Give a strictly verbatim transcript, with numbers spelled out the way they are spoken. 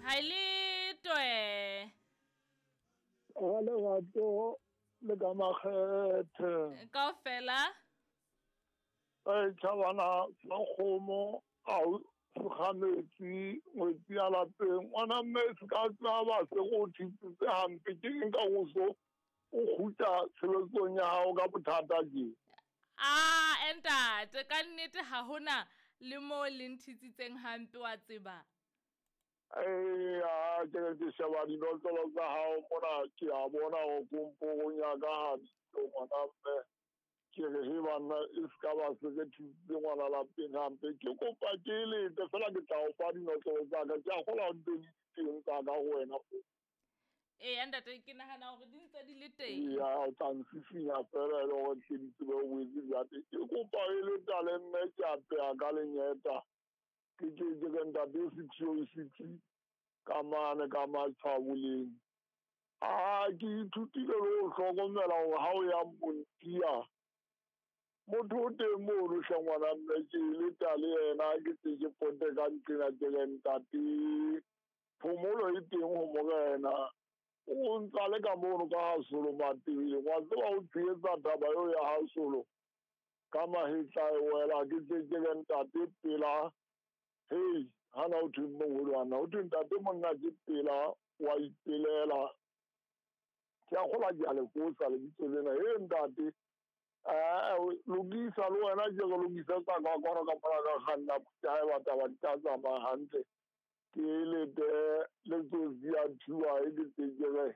Ha le toe. Ga lerato le ka makgethe. Kaofela. E tjhabana sa kgomo a o segametsi ngwetsi ya lapeng. Ngwana mme se ka tsaba se go thitsitse hampe ke eng ka go so o kgutla tshebetsong ya hao ka bothata je. Ah, entate ka nnete ha hona le mo le nthitsitseng hampe wa tseba. Eh, a ke re ke sheba dinotlolo tsa hao mona ke a bona ho komporong ya ka ha di ngwana mme. Ke re he banna e se ka ba se re thusitse ngwana lapeng hampe. Ke kopa ke lete fela ke tla o fa dinotlolo tsa ka. Ke a kgolwa ho ntse di teng tsa ka ho wena. Eya ntate ke nahana hore di ntse di le teng. Eya o tla nsisinya fela e le hore tle di tsebe ho boetse di ate. Ke kopa e le tale mme ke a peha ka lenyeta. Ke ke ke re ntate six oh six ka mane ka matshwaboleng. Ah, ke ithutile le ho hlokomela hore ha o ya Montia motho o teng mono hle ngwana mme ke le tale yena ke tse ke pote ka ntlena ke re ntate phomolo e teng ho morena. O ntsa le ka mono ka Hasolo Matebeleng. Wa tseba o tshehetsa taba eo ya Hasolo ka mahetla e wela ke tse ke re ntate pela. Hei, hana o thweng moholo ana o thwe ntate monna ke pela wa ipelela. Ke a kgolwa ke a le fosa lebitso lena. He ntate eh lokisa le wena ke re lokisa tsa ka kwano ka mona ka kganna ke ha e batla ba di tla tsamaya hantle. Ke lete letsatsi ya thuwa e ke tse ke re